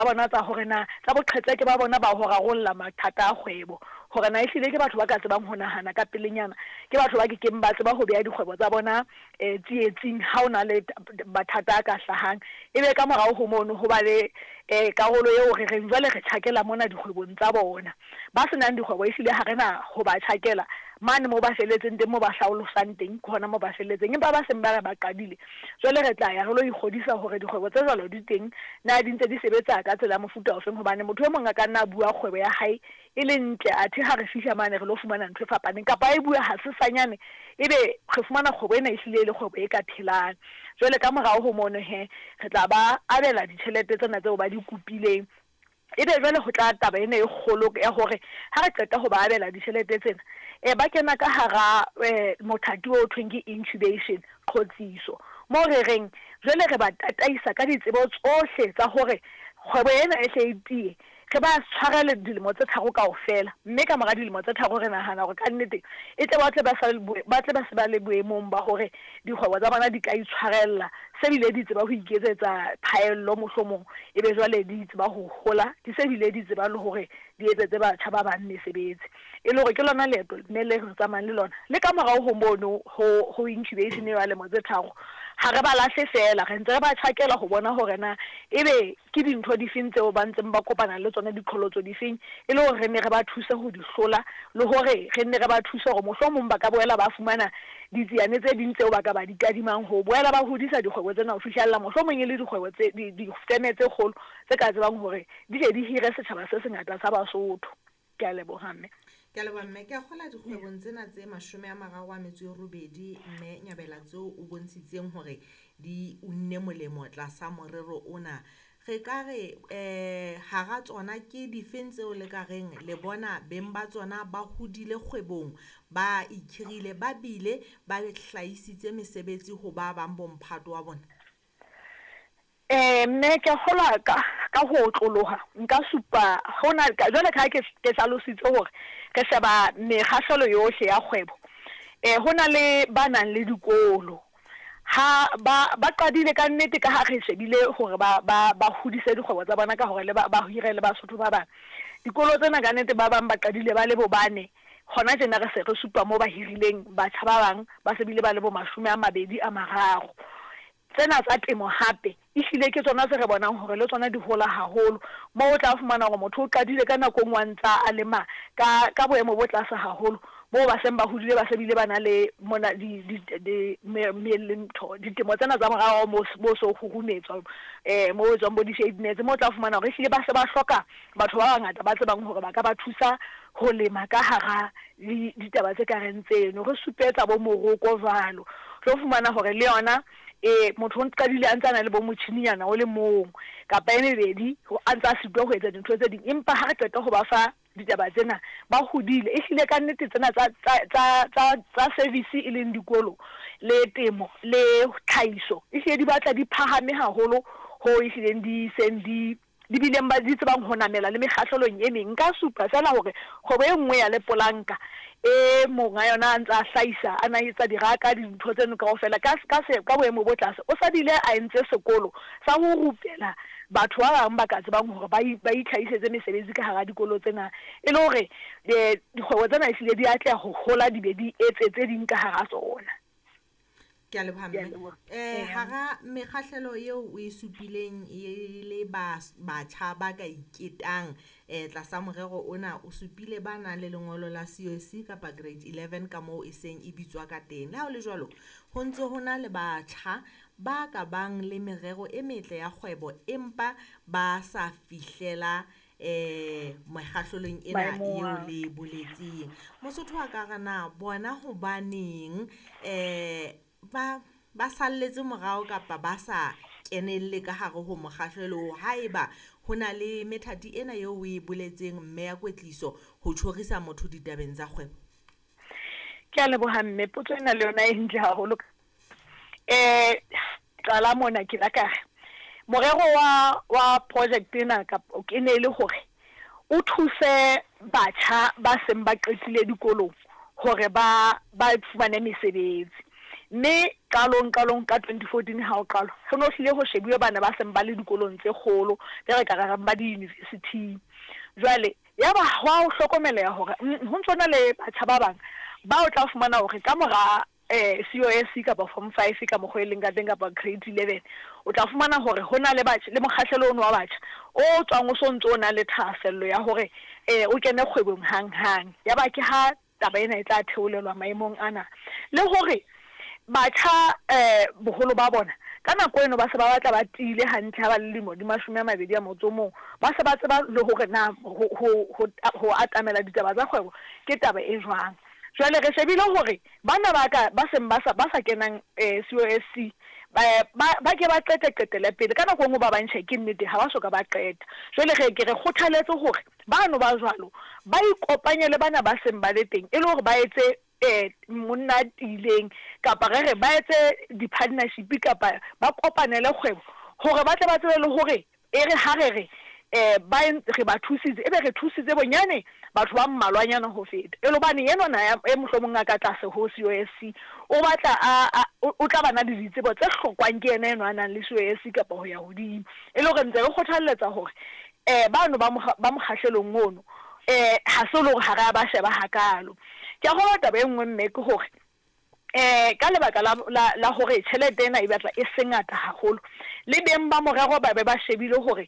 Bona tsa hore na tsa boqhetseke ba bona ba ho rarolla mathata a kgwebo, hore na ehlile ke batho ba ka tsebang ho nahana ka pelenyana, ke batho ba ke keng ba tseba ho beha dikgwebo tsa bona tsietsing ha ho na le mathata a ka hlahang. Ebe ka morao ho mono ho ba le karolo eo re reng jwale re tjhakela mona dikgwebong tsa bona. Ba se nang dikgwebo ehlile ha re na ho ba tjhakela mane moo ba felletseng teng, moo ba hlaolosang teng, ke hona moo ba felletseng. Empa ba seng ba re ba qadile, Jwale re tla ya re lo ikgodisa hore dikgwebo tse jwalo di teng, na di ntse di sebetsa ka tsela ya mofuta ofeng, hobane motho e mong a ka nna a bua kgwebo ya hae e le ntle, athe ha re fihla mane re lo fumana ntho e fapaneng, kapa a e bua hasesanyane ebe re fumana kgwebo ena ehlile e le kgwebo e ka phelang. Jwale ka morao ho mono he, re tla ba abela ditjhelete tsena tseo ba di kopileng. Ebe jwale ho tla taba ena e kgolo ya hore ha re qeta ho ba abela ditjhelete tsena, ba kena ka hara mothati o thweng ke incubation, qhotsiso, moo re reng jwale re ba tataisa ka ditsebo tsohle tsa hore kgwebo ena e hle e tiye, re ba tshwarele dilemo tse tharo kaofela, mme ka mora dilemo tse tharo re nahana hore ka nnete e tle ba tle ba sa ba tle ba se ba le boemong ba hore dikgwebo tsa bona di ka itshwarella se bile di tseba ho iketsetsa phaello mohlomong e be jwale di tseba ho hola di se bile di tseba le hore di etsetse batjha ba bang mesebetsi. E le hore ke lona leeto mme le re tsamayang le lona. Le ka morao ho mono ho ho incubation eo ya lemo tse tharo, ha re ba lahle feela, re ntse re ba tjhakela ho bona hore na ebe Ke dintho difeng tseo ba ntseng ba kopana le tsona, diqholotso difeng, e le hore re nne re ba thuse ho di hlola le hore re nne re ba thuse hore mohlomong ba ka boela ba fumana ditsiane tse ding tseo ba ka ba di kadimang ho boela ba hodisa dikgwebo tsena ho fihlella mohlomong e le dikgwebo tse, di, difeme tse kgolo tse ka tsebang hore di tle di hire setjhaba se sengata sa Basotho. Ke a leboha, Mme. Ke a leboha, Mme. Ke a kgola dikgwebong tsena tse 38, Mme Nyabela, tseo o bontshitseng hore di unne molemo tlasa morero ona. Re ka re um hara tsona ke difeng tseo le ka reng le bona beng ba tsona ba hodile kgwebong, ba ikhirile, ba bile ba hlahisitse mesebetsi ho ba bang bomphato wa bona? Ee, mme ke kgolwa ka, ka ho otloloha nka supa hona, jwale ka ha ke, ke hlalositse hore re sheba mekgahlelo yohle ya kgwebo. Ee, ho na le ba nang le dikolo. Ha ba, ba qadile ka nnete ka ha re shebile hore ba, ba, ba hodise dikgwebo tsa bona ka hore le ba, ba hire le Basotho ba bang. Dikolo tsena ka nnete ba bang ba qadile ba le bo bane, hona tjena re se re supa moo ba hirileng batjha ba bang ba se bile ba le bo 23. Tsena tsa temo hape ehlile ke tsona tse re bonang hore le tsona di hola haholo, moo o tla fumana hore motho o qadile ka nako e nngwe a ntsa a lema ka, ka boemo bo tlase haholo, moo ba seng ba hodile ba se bile ba na le mona di, di, di, me, me, le ntho, ditemo tsena tsa morao moo, moo so kgurumetswa, moo ho etswang bo di-shade nets, moo o tla fumana hore ehlile ba se ba hloka batho ba bangata ba tsebang hore ba ka ba thusa ho lema ka hara ditaba tse ka reng tseno. Re supetsa bo moroko jwalo. Tlo fumana hore le yona e motho o qadile a ntse a na le bo motjhininyana o le mong kapa e mebedi, a ntse a sitwa ho etsa dintho tse ding, empa ha re qeta ho ba fa ditaba tsena ba hodile. Ehlile ka nnete tsena tsa, tsa, tsa, tsa, tsa service e leng dikolo le temo le tlhahiso, ehlile di batla di phahame haholo hoo ehlileng di seng di di bileng ba di tsebang ho namela le mekgahlelong e meng. Nka supa feela hore kgwebo e nngwe ya lepolanka e monga yona a ntse a hlahisa, a na etsa diraka, dintho tseno kaofela ka, ka se, ka boemo bo tlase. O sa bile a entse sekolo sa ho rupela batho ba bang ba ka tsebang hore ba, ba itlhahisetse mesebetsi ka hara dikolo tsena, e le hore dikgwebo tsena ehlile di atleha ho hola di be di etse tse ding ka hara tsona. Ke a leboha mme. Eh hara mekgahlelo eo o e supileng e le ba batjha ba ka iketang eh tlasa morero ona, o supile ba nang le lengolo la COC kapa grade 11 ka moo e seng e bitswa ka teng. Le ha ho le jwalo, ho ntse ho na le batjha ba ka bang le merero e metle ya kgwebo empa ba sa fihlela eh mekgahlelong ena eo le e boletseng. Mosotho a ka re na bona hobaneng eh ba ba salletse morao kapa ba sa kenelle ka hare ho mokgahlelo oo, haeba ho na le methati ena eo o e boletseng mme ya kwetliso ho tjhorisa motho ditabeng tsa kgwebo? Ke a leboha mme, potso ena le yona e ntle haholo. Eh qala mona ke la ka re morero wa wa project ena kapa e ne e le hore o thuse batjha ba seng ba qetile dikolong hore ba ba fumane mesebetsi. Mme qalong qalong ka 2014 ha ho qalwa, ho ne ho hlile ho shebuwe bana ba seng ba le dikolong tse kgolo, tse re ka re reng ba diyunivesithing. Jwale yaba ho a hlokomeleha hore ho ntso na le batjha ba bang ba o tla fumana hore ka mora COSC kapa Form Five ka mokgwa e leng ka teng kapa Grade 11, o tla fumana hore ho na le batjha le mokgahlelo ono wa batjha o tswang o so ntso o na le thahasello ya hore o kene kgwebong hanghang. Yaba ke ha taba ena e tla theolelwa maemong ana. Le hore batjha boholo ba bona ka nako eno ba se ba batla ba tiile hantle ha ba le lemo di 21, ba se ba tseba le hore na ho atamela ditaba tsa kgwebo ke taba e jwang. Jwale re shebile hore bana ba ka ba seng ba sa ba sa kenang COSC ba ba ke ba qete qetele pele. Ka nako e nngwe ba bang tjhe ke nnete ha ba soka ba qeta. Jwale re ke re kgothaletse hore bano ba jwalo ba ikopanye le bana ba seng ba le teng e le hore ba etse monna a tiileng, kapa re re ba etse di-partnership kapa ba kopanele kgwebo hore ba tle ba tsebe le hore e re ha re re ba re ba thusitse, ebe re thusitse bonyane batho ba mmalwanyana ho feta. E le hobane enwana e mohlomong a ka tlase ho COSC o batla a o tla ba na le ditsebo tse hlokwang ke yena enwa a nang le COSC kapa ho ya hodimo. E le hore ntse re kgothalletsa hore bano ba ba mokgahlelong ono ha se le hore ha re a ba sheba hakalo. Ke a kgolwa taba e nngwe mme ke hore ka lebaka la hore tjhelete ena e batla e se ngata haholo, le beng ba morero ba be ba shebile hore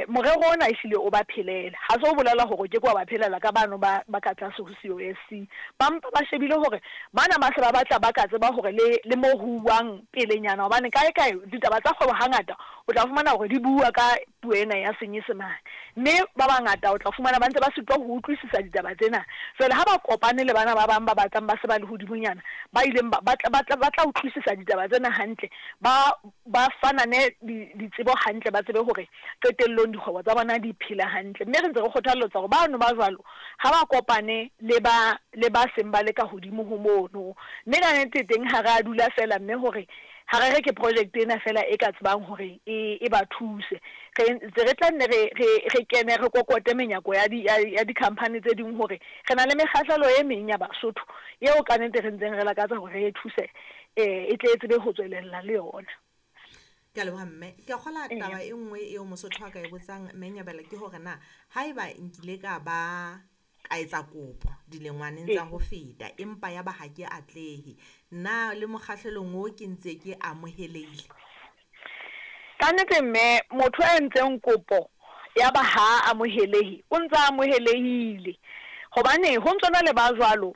morero ona ehlile o ba phelele. Ha se ho bolela hore o ke ke wa ba phelela ka bano ba ka tlase ho COSC. Ba mpa ba shebile hore bana ba se ba batla ba ka tseba hore le mo ho uwang pelenyana, hobane kae kae ditaba tsa kgwebo hangata o tla fumana hore di bua ka puo ena ya Senyesemane, mme ba bangata o tla fumana ba ntse ba sitwa ho utlwisisa ditaba tsena. Jwale ha ba kopane le bana ba bang ba batlang ba se ba le hodimonyana, ba ileng ba ba tla utlwisisa ditaba tsena hantle, ba ba fanane ditsebo hantle, ba tsebe hore qetellong dikgwebo tsa bona di phela hantle. Mme re ntse re kgothalletsa hore bano ba jwalo ha ba kopane le ba le ba seng ba le ka hodimo ho mono. Mme ka nnete teng ha re a dula fela mme hore ha re re ke project ena fela e ka tsebang hore e ba thuse. Re ntse re tla nne re kene re kokote menyako ya di ya di-company tse ding hore re na le mekgahlelo e meng ya Basotho eo ka nnete re ntseng re lakatsa hore re e thuse e tle e tsebe ho tswelella le yona. Ke a leboha mme. Ke a kgola taba e nngwe eo Mosotho a ka e botsang mme Nyabela ke hore na haeba nkile ka ba ka etsa kopo dilengwaneng tsa ho feta empa ya ba ha ke atlehe, na le mokgahlelong o ke ntse ke amohelehile? Ka nnete mme, motho a entseng kopo ya ba ha amohelehe, o ntse a amohelehile. Hobane ho ntso na le ba jwalo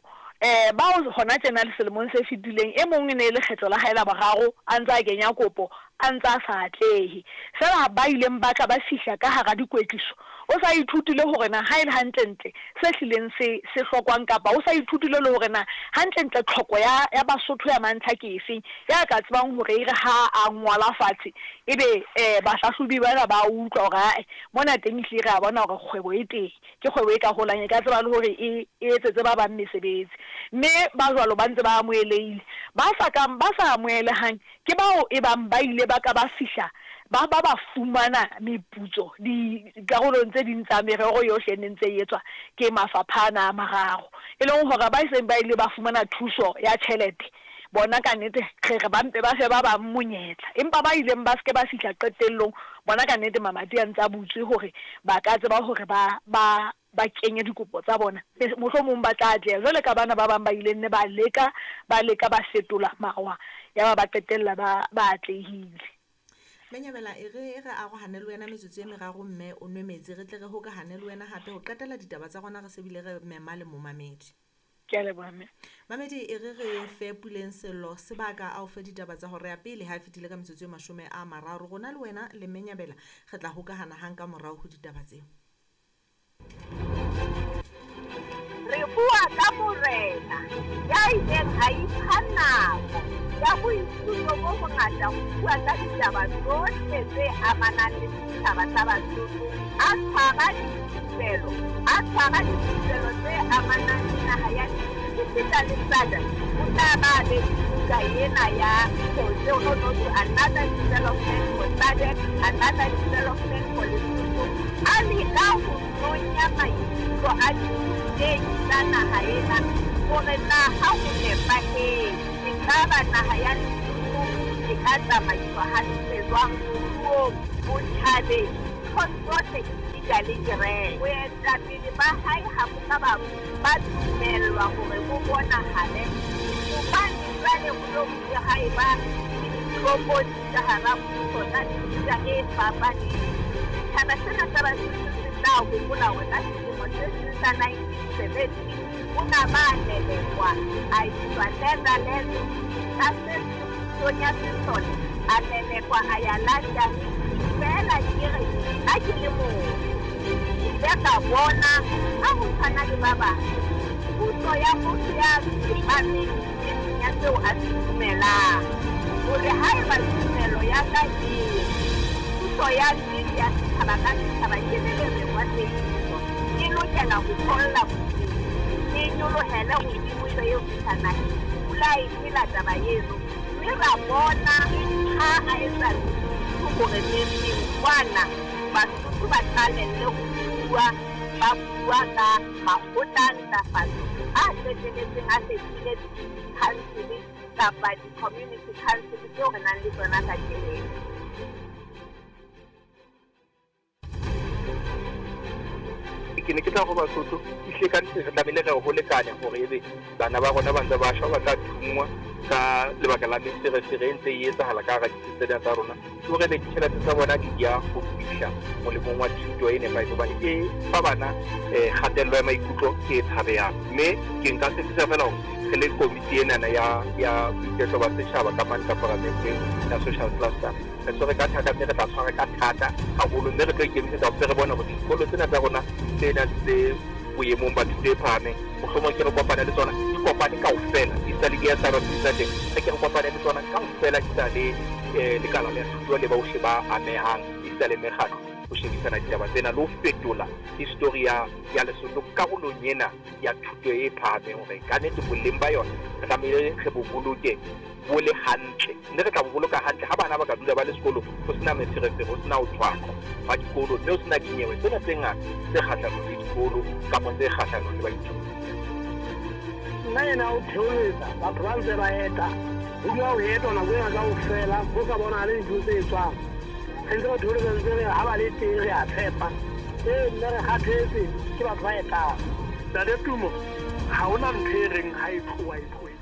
bao hona tjena le selemong se fetileng, e mong e ne e le kgetlo la hae la boraro a ntse a kenya kopo, a ntse a sa atlehe. Feela ba ileng ba tla ba fihla ka hara dikwetliso, o sa ithutile hore na ha e le hantlentle se hlileng se se hlokwang, kapa o sa ithutile le hore na hantlentle tlhoko ya ya Basotho ya mantlha ke efeng, ya ka tsebang hore e re ha a ngola fatshe ebe bahlahlobi bana ba utlwa hore ae mona teng ehlile re a bona hore kgwebo e teng, ke kgwebo e ka holang, e ka tseba le hore e etsetse ba bang mesebetsi. Mme ba jwalo ba ntse ba amohelehile. Ba sa kang ba sa amohelehang ke bao e bang ba ile ba ka ba fihla ba ba ba fumana meputso dikarolong tse ding tsa merero yohle e neng ntse e etswa ke mafapha ana a mararo, e leng hore ba seng ba ile ba fumana thuso ya tjhelete bona ka nnete re re ba mpe ba fe ba bang monyetla. Empa ba ileng ba se ke ba fihla qetellong bona ka nnete mamati a ntse a butswe hore ba ka tseba hore ba ba ba kenye dikopo tsa bona, mohlomong ba tla atleha jwale ka bana ba bang ba ileng ne ba leka ba leka ba fetola mawa, yaba ba qetella ba ba atlehile. Menyabela, e re re arohane le wena metsotso e meraro mme o nwe metsi, re tle re hokahane le wena hape ho qetela ditaba tsa rona, re se bile re mema le momamedi. Ke a leboha mme. Mamedi, e re re fe Puleng Sello sebaka a o fe ditaba tsa hora ya pele ha e fetile ka metsotso e 30. Rona le wena le Menyabela re tla hokahana hang ka morao ho ditaba tseo. Re bua ka morena ya ileng a ipha nako ya boithuto bo bongata ho bua ka ditaba tsohle tse amanang le setjhaba sa Basotho, a tshwara dithupelo, a tshwara dithupelo tse amanang le naha ya Lesotho esita le SADC. O tla ba a be le buka ena ya to another development for SADC, another development for Lesotho. A leka ho nonya maikutlo a dirutehi tsa naha ena hore na ha ho nepahetse. Ekaba naha ya Lesotho e ka tsamaiswa hantle jwang moruong, botjhabeng, nthong tsohle esita le kereke? Boetapele ba hae ha bo ka ba dumellwa hore bo bonahale hobane jwale ho no bile ha eba le ditlokotsi ka hara puso tsa mefuta e fapaneng. Setjhaba sena sa Basotho se tla hopola hore ka selemo se seng sa 1970 o na ba lelekwa a iswa Netherlands, ka se seng pusong ya sesole a lelekwa a ya London. Feela ke re ha ke le motho, ke ile ka bona ka ho tshwana le ba bang, puso ya motho ya tsepameng nneteng ya seo a se dumelang, hore haeba tumelo ya ka e re puso ya nnete ya setjhaba ka setjhaba ke melereng wa teiso, e lokela ho tholla bophelong, e nyolohele hodimo e be eo fihla naheng, pula e phela taba eno, mme ra bona ha a etsa Lesotho hore neng-neng kwana Basotho ba qalelle ho bua, ba bua ka makgotla a ntlafatso a qeteletseng a fetohile di-council kapa di-community council tseo re nang le tsona kajeno. Ke ne ke tla ho Basotho, ehlile ka nnete re tlamehile re ho lekane hore ebe bana ba rona ba ntse ba shwa, ba tla thunngwa ka lebaka la meferefere e ntse e etsahala ka hara ditsi tsena tsa rona, ke hore ebe ditjhelete tsa bona di ya ho fihla molemong wa thuto e nepahetseng, hobane e fa bana kgatello ya maikutlo e tshabehang. Mme ke nka tshepisa feela hore re le komiti enana ya boiketlo ba setjhaba ka mane ka paramenteng ya social cluster, re tshwere ka thata mme re tla tshwara ka thata haholo, mme re tlo ikemisetsa hore re bone hore dikolo tsena tsa rona tsena tse boemong ba thuto e phahameng, mohlomong ke re kopane le tsona, di kopane kaofela, esita le di-S_R_C tsa teng, re ke re kopane le tsona kaofela, esita le lekala la thuto le bohle ba amehang, esita le mekgatlo, ho shebisana ditaba tsena le ho fetola histori ya ya Lesotho karolong ena ya thuto e phahameng, hore ka nnete boleng ba yona re tlamehile re bo boloke bo le hantle, mme re tla bo boloka hantle ha bana ba ka dula ba le sekolong, ho se na meferefere, ho se na ho tshwaqwa hwa dikolo, mme ho se na dinyewe tsena tse ngata tse kgahlanong le dikolo kapa tse kgahlanong le baithuti. Nna ena o theoletsa batho ba ntse ba eta, ho dula ho etwa nako ena kaofela, ho sa bonahale dintho tse etswang. Re ntse re theoletsa ntse re ha ba le teng re a tshepa. Ee mme re kgathetse ke batho ba etang. Ntate Tumo, ha hona ntho e reng ha e tloha e tlohetse.